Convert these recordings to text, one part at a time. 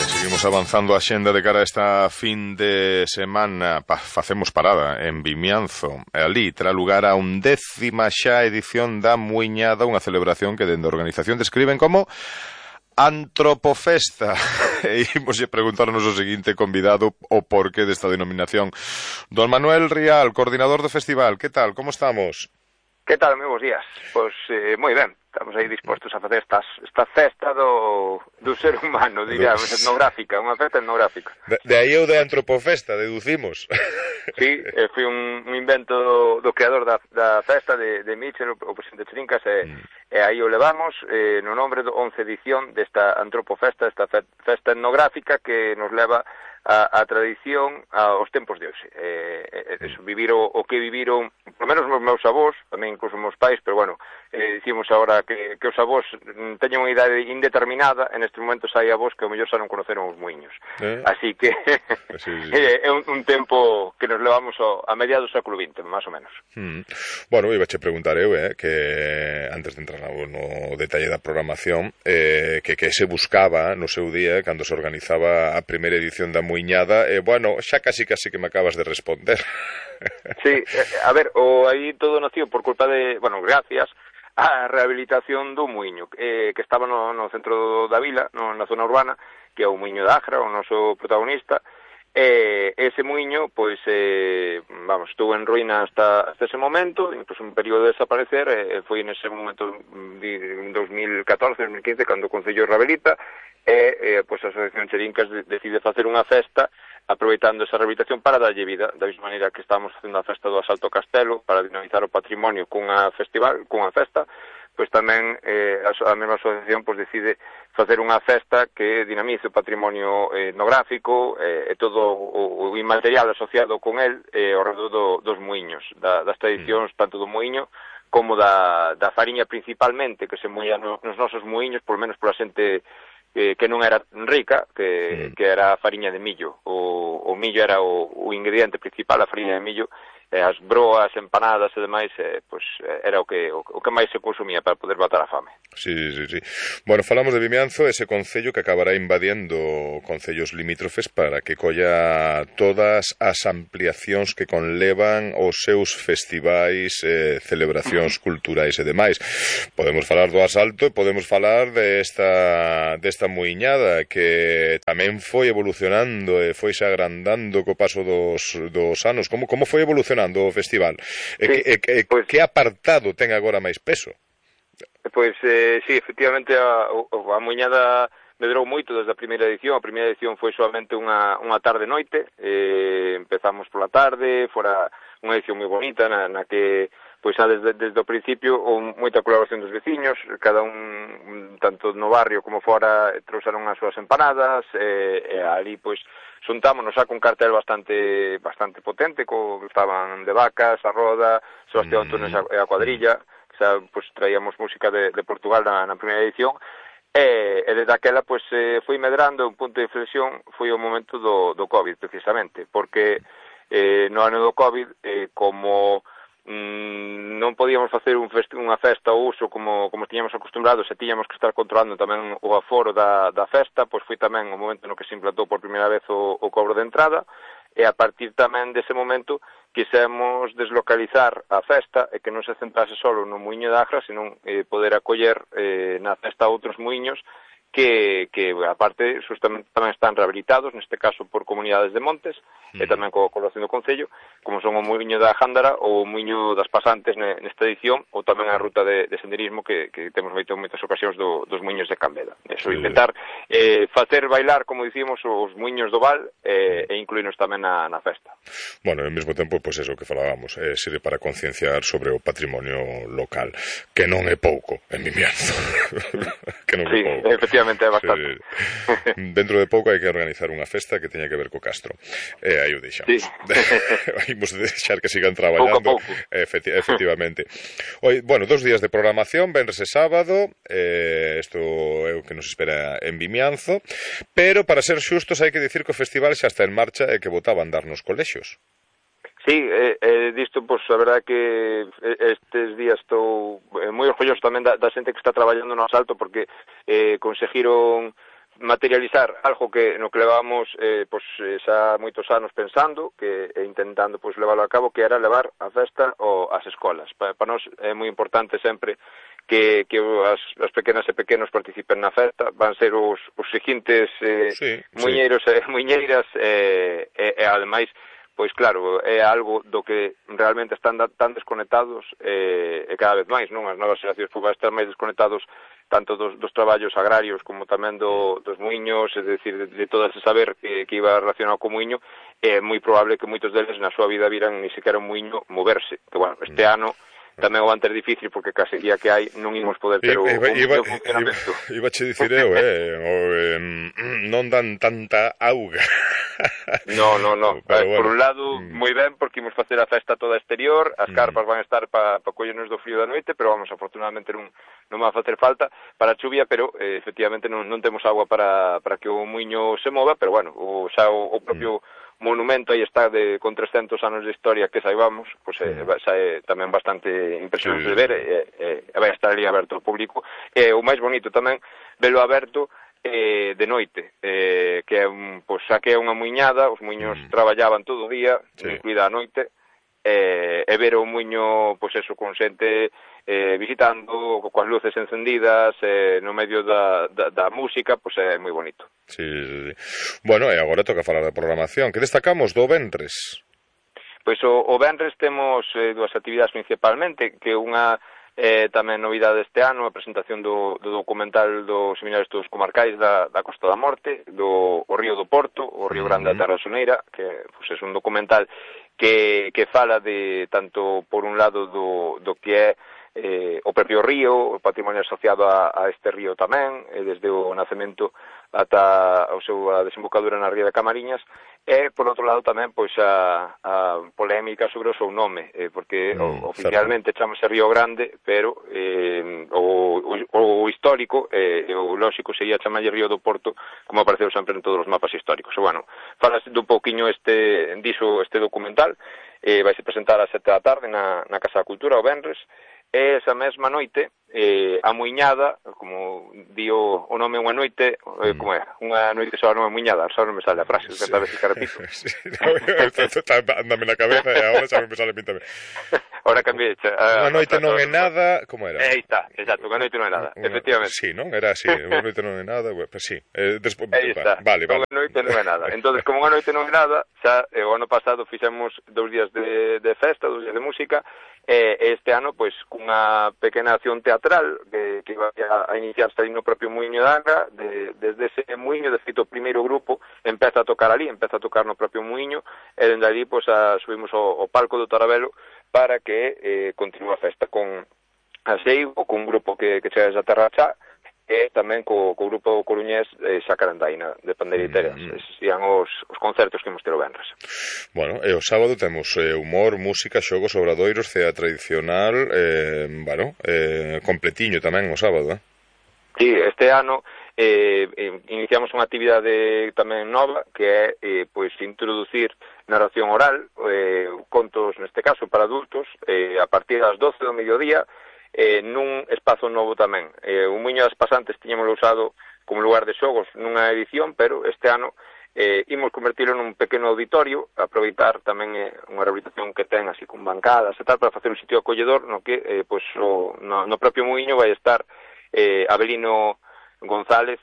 Seguimos avanzando a xenda de cara a esta fin de semana. Facemos parada en Vimianzo. Ali terá lugar a 11ª xa edición da Muiñada, unha celebración que dende a organización describen como Antropofesta. E imos preguntar ao noso seguinte convidado o porqué desta denominación. Don Manuel Rial, coordinador do festival. Que tal? Como estamos? Que tal? Moi bons días. Pois moi ben. Estamos aí dispostos a facer esta festa do ser humano, diríamos, etnográfica, unha festa etnográfica. De aí o de Antropofesta, deducimos. Sí, foi un invento do creador da festa de Mitchell, o presidente Trincas, e aí o levamos no nombre do 11 edición desta Antropofesta, esta festa etnográfica que nos leva a tradición aos tempos de hoxe. Vivir o que viviron, por menos os meus avós, tamén incluso os meus pais, pero bueno, dicimos agora que os avós teñen unha idade indeterminada, en este momento hai avós que ao mellor xa non conoceron os muiños. Así que sí. É un tempo que nos levamos a mediados do século XX, máis ou menos. Bueno, iba a preguntar eu, que antes de entrar no detalle da programación, que se buscaba no seu día, cando se organizaba a primeira edición da Muiñada, bueno, xa casi que me acabas de responder. Sí, a ver, aí todo nació por culpa de, bueno, gracias a rehabilitación do muiño, que estaba no centro da vila, na zona urbana, que é o muiño de Agra, o noso protagonista. Ese muiño, pois, estuvo en ruína hasta ese momento, incluso un período de desaparecer, foi nese momento en 2014-2015 cando o Concello rehabilita, pois a Asociación Cherincas decide facer unha festa aproveitando esa rehabilitación para darlle vida, da mesma maneira que estamos facendo a festa do Asalto ao Castelo para dinamizar o patrimonio cunha festa, pois tamén a mesma asociación pois decide facer unha festa que dinamice o patrimonio etnográfico e todo o inmaterial asociado con el ao redor dos muiños, das tradicións tanto do muiño como da fariña principalmente que se moía nos nosos muiños, por menos pola xente que non era rica, que era a fariña de millo. O millo era o ingrediente principal, a fariña de millo, as broas, empanadas e demais, pois era o que máis se consumía para poder matar a fame. Sí. Bueno, falamos de Vimianzo, ese concello que acabará invadindo concellos limítrofes para que colla todas as ampliacións que conlevan os seus festivais, celebracións culturais e demais. Podemos falar do Asalto e podemos falar desta Muiñada que tamén foi evolucionando e foise agrandando co paso dos anos. Como foi evolucionando o festival? Que apartado ten agora máis peso? Pois, sí, efectivamente a Muiñada medrou moito desde a primeira edición. A primeira edición foi solamente unha tarde-noite, empezamos pola tarde, fora unha edición moi bonita na que pois xa desde o principio moita colaboración dos veciños, cada un tanto no barrio como fora trouxeron as súas empanadas, e ali pois xuntámonos xa con cartel bastante potente, estaban de Vacas, a Roda, Sebastián Antunes e a cuadrilla, que xa pois traíamos música de Portugal na primeira edición, e desde aquela pois foi medrando. Un punto de inflexión foi o momento do COVID, precisamente, porque no ano do COVID, como non podíamos facer unha festa ao uso como tiñamos acostumbrados e tiñamos que estar controlando tamén o aforo da festa, pois foi tamén o momento no que se implantou por primeira vez o cobro de entrada, e a partir tamén dese momento quisemos deslocalizar a festa e que non se centrase solo no muiño de Agra, senón poder acoller na festa outros muiños que aparte justamente tamén están rehabilitados, neste caso por comunidades de montes, e tamén coa colaboración do Concello, como son o muiño da Gándara ou o muiño das Pasantes nesta edición, ou tamén a ruta de senderismo que temos feito en moitas ocasións dos muiños de Cambeda. Eso, intentar facer bailar, como dicimos, os muiños do Val e incluirnos tamén na festa. Bueno, ao mesmo tempo, pois eso que falábamos, sirve para concienciar sobre o patrimonio local, que non é pouco en Vimianzo. Que non é pouco. Efectivamente, é bastante. Dentro de pouco hai que organizar unha festa que teña que ver co Castro. Aí o deixamos. Sí. Imos deixar que sigan traballando. Pouco a pouco. Efectivamente. Bueno, 2 días de programación, venres e sábado. Isto é o que nos espera en Vimianzo. Pero, para ser xustos, hai que dicir que o festival xa está en marcha e que botaba a andar nos colexios. Sí, disto, pois, a verdade que estes días estou moi orgulloso tamén da xente que está traballando no Asalto, porque conseguiron materializar algo que no que levábamos xa moitos anos pensando e intentando leválo a cabo, que era levar a festa ás escolas. Para nós é moi importante sempre que as pequenas e pequenos participen na festa, van ser os seguintes muiñeiros e muiñeiras e ademais, pois claro, é algo do que realmente están tan desconectados e cada vez máis, non? As novas xeracións van estar máis desconectados tanto dos traballos agrarios como tamén dos muiños, é dicir, de todo ese saber que iba relacionado co muiño, é moi probable que moitos deles na súa vida viran ni sequera un muiño moverse, que bueno, este ano tamén o van ter difícil porque case día que hai non imos poder ter o funcionamento. Iba che dicir eu, non dan tanta auga. No. Por un lado, moi ben, porque imos facer a festa toda exterior, as carpas van a estar para collernos do frío da noite, pero vamos, afortunadamente non va a facer falta para a chuvia, pero efectivamente non temos agua para que o muiño se mova, pero bueno, o propio monumento aí está con 300 anos de historia que saibamos, pois xa é tamén bastante impresionante de ver e vai estar ali aberto ao público. E o máis bonito tamén velo aberto de noite, que é xa que é unha muiñada, os muiños traballaban todo o día, incluída a noite, e ver o muiño, pois eso, con xente visitando, coas luces encendidas, no medio da música, pois é moi bonito. Sí. Bueno, e agora toca falar da programación. Que destacamos do venres? Pois o venres temos dúas actividades principalmente, que unha tamén novidade este ano, a presentación do documental dos Seminarios Estudos Comarcais da Costa da Morte, do Río do Porto, o Río Grande da Terra Soneira, que é un documental que fala de tanto por un lado do que é o propio río, o patrimonio asociado a este río tamén, desde o nacemento ata a desembocadura na ría de Camariñas, e, por outro lado, tamén pois a polémica sobre o seu nome, porque oficialmente chamase Río Grande, pero o histórico, o lógico sería chamarlle Río do Porto, como apareceu sempre en todos os mapas históricos. E, bueno, falas un pouquiño diso este documental, vaise presentar ás 7 da tarde na Casa da Cultura, o venres, e esa mesma noite a muiñada, como di o nome unha noite, como é? Unha noite só non é muiñada, só non me sale a frase, tenta vez que repito. Ándame na cabeza e agora xa me sale a mí tamén. Ahora cambié. Unha noite non é nada, como era? Aí está, exacto, unha noite non é nada, efectivamente. Sí, non? Era así, unha noite non é nada, pues sí. Aí está, vale. Unha noite non é nada. Entón, como unha noite non é nada, xa o ano pasado fixemos 2 días de festa, 2 días de música, este ano, pois, cunha pequena acción teatral que vai a iniciarse aí no propio muiño da Angra, desde ese muiño, de feito, o primeiro grupo empeza a tocar no propio muiño, e dende ali, pois, subimos ao palco do Tarabelo para que continúe a festa con a Seigo, con un grupo que chega a Terra Chá, e tamén co grupo coruñés Xacarandaina de Pandeiriteras. Eses serían os concertos que imos ter o venres. Bueno, e o sábado temos humor, música, xogos, obradoiros, cea tradicional, completiño tamén o sábado, Sí, este ano iniciamos unha actividade tamén nova, que é pois introducir narración oral, contos neste caso para adultos, a partir das 12 do mediodía, nun espazo novo tamén. O Muiño das Pasantes tiñamoslo usado como lugar de xogos nunha edición, pero este ano imos convertilo nun pequeno auditorio, aproveitar tamén unha rehabilitación que ten así con bancadas e tal, para facer un sitio acolledor no que no propio Muiño vai estar Abelino González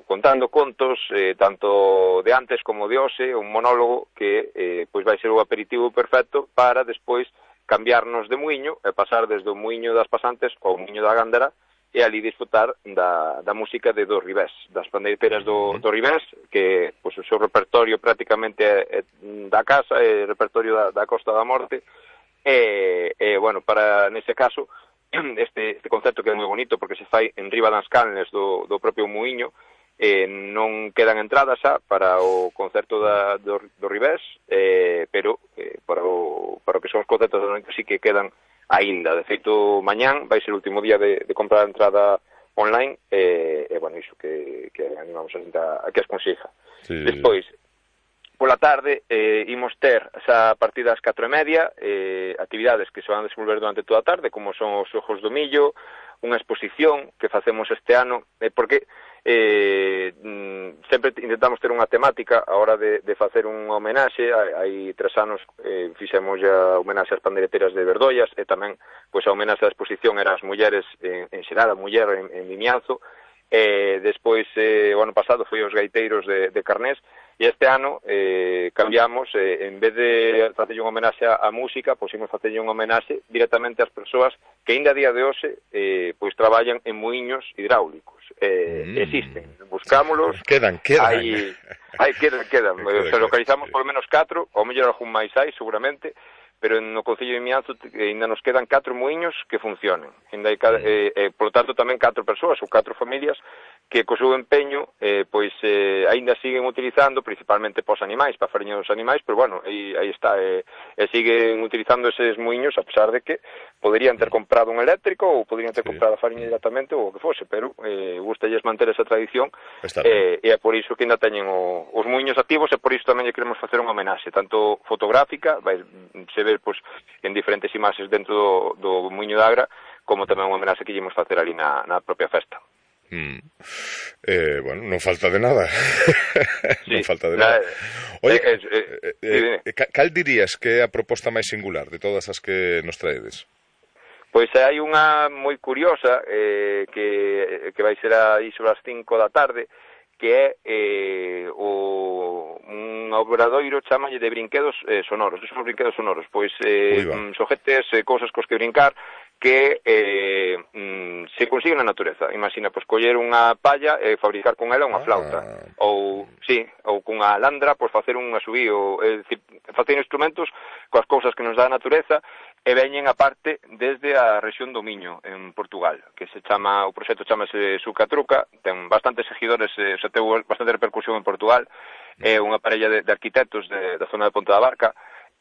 contando contos tanto de antes como de hoxe, un monólogo que vai ser o aperitivo perfecto para despois cambiarnos de muiño e pasar desde o muiño das Pasantes ao muiño da Gándara e ali disfrutar da música de do Ribés, das pandeiras do Ribés, que o seu repertorio prácticamente é da casa, é repertorio da Costa da Morte, bueno, para nese caso este concerto que é moi bonito porque se fai en riba das canles do propio muiño, non quedan entradas xa para o concerto do Ribés, pero para o que son os concertos da noite sí que quedan aínda. De feito, mañán vai ser o último día de comprar a entrada online, bueno, iso que animamos a xente a que as consiga. Sí. Despois, pola tarde, imos ter xa a partir das 4:30 actividades que se van a desenvolver durante toda a tarde, como son os xogos do millo, unha exposición que facemos este ano, porque sempre intentamos ter unha temática a hora de facer unha homenaxe. Hai 3 anos fixemos a homenaxe ás pandeireteiras de Verdoias, e tamén pois a homenaxe á exposición era as mulleres en xeral, a muller en Vimianzo. Despois o ano pasado foi os gaiteiros de Carnés, e este ano cambiamos, en vez de facer unha homenaxe á música, pois imos facer unha homenaxe directamente ás persoas que ainda a día de hoxe pois traballan en muiños hidráulicos. Existen, buscámolos, quedan. Quedan. Se localizamos sí. polo menos 4, ou mellor algún máis hai, seguramente, pero no Concello de Vimianzo ainda nos quedan 4 muiños que funcionen. Ainda hai, por lo tanto, tamén 4 persoas ou 4 familias que co seu empeño pois aínda siguen utilizando, principalmente pos animais, para a fariña dos animais, pero bueno, aí está, siguen utilizando eses muiños, a pesar de que poderían ter comprado un eléctrico ou poderían ter comprado a fariña directamente ou o que fose, pero gustalles manter esa tradición, e é por iso que ainda teñen os muiños activos, e por iso tamén lle queremos facer unha homenaxe, tanto fotográfica, vai se ver pois en diferentes imaxes dentro do muiño de Agra, como tamén unha homenaxe que lle imos facer ali na propia festa. Bueno, non falta de nada. Sí, non falta de nada. Oye, cal dirías que é a proposta máis singular de todas as que nos traedes? Pois hai unha moi curiosa que vai ser aí sobre as 5 da tarde, que é un obradoiro, chamalle de brinquedos sonoros. Que son os brinquedos sonoros? Pois xoguetes, cousas cos que brincar, que se consigue na natureza. Imagina, pois, coller unha palla e fabricar con ela unha flauta, ou cunha alandra, pois, facer un asubío, facer instrumentos coas cousas que nos dá a natureza, e veñen aparte desde a rexión do Miño, en Portugal, que o proxecto chamase Sucatruca, ten bastantes seguidores, teu bastante repercusión en Portugal, é unha parella de arquitectos da zona de Ponta da Barca,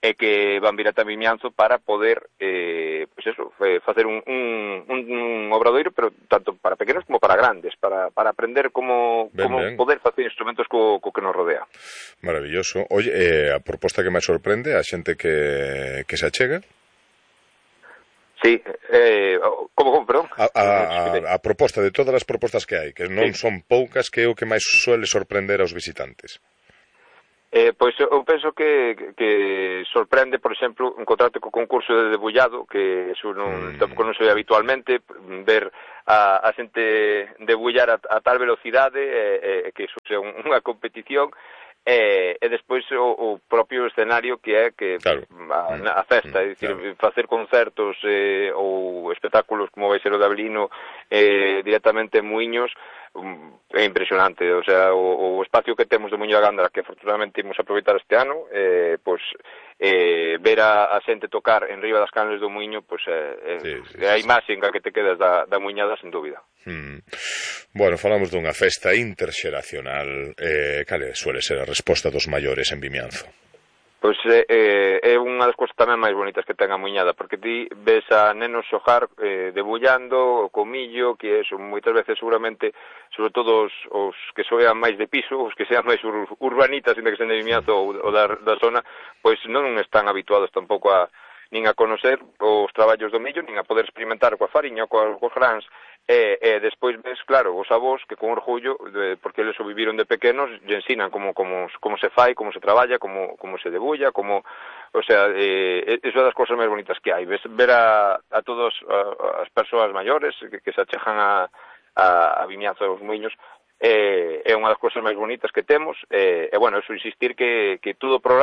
e que van vir ata Vimianzo para poder facer un obradoiro, pero tanto para pequenos como para grandes, para aprender como poder facer instrumentos co que nos rodea. Maravilloso. Oye, a proposta que máis sorprende a xente que se achega? Sí, como, perdón? A proposta, de todas as propostas que hai, que non son poucas, que é o que máis suele sorprender aos visitantes. Pois eu penso que sorprende, por exemplo, encontrarte co concurso de debullado, que eso tampouco non se ve habitualmente, ver a xente debullar a tal velocidade, que eso sea unha competición, e despois o propio escenario que é a festa, é dicir, facer concertos ou espectáculos como vai ser o de Avelino directamente en Muiños, é impresionante. O sea, o espacio que temos de Muiño da Gándara, que afortunadamente imos aproveitar este ano, pois ver a xente tocar en riba das canles do Muiño, pois é a imaxe en que te quedas da muiñada, sen dúbida. Bueno, falamos dunha festa interxeracional. Cal suele ser a resposta dos maiores en Vimianzo? Pois é unha das cousas tamén máis bonitas que ten a muiñada, porque ti ves a nenos xogar debullando, co millo, que son moitas veces seguramente, sobre todo os que xogan máis de piso, os que sean máis urbanitas, ainda que sean de Vimianzo ou da zona, pois non están habituados tampouco nin a conocer os traballos do millo, nin a poder experimentar coa fariña, coas grans, e despois ves, claro, os avós que con orgullo, porque eles o viviron de pequenos, lle ensinan como se fai, como se traballa, como se debulla, o sea, é das cousas máis bonitas que hai, ver a todas as persoas maiores que se achejan a Vimianzo dos Muiños, é unha das cousas máis bonitas que temos, e bueno, eso insistir que todo o programa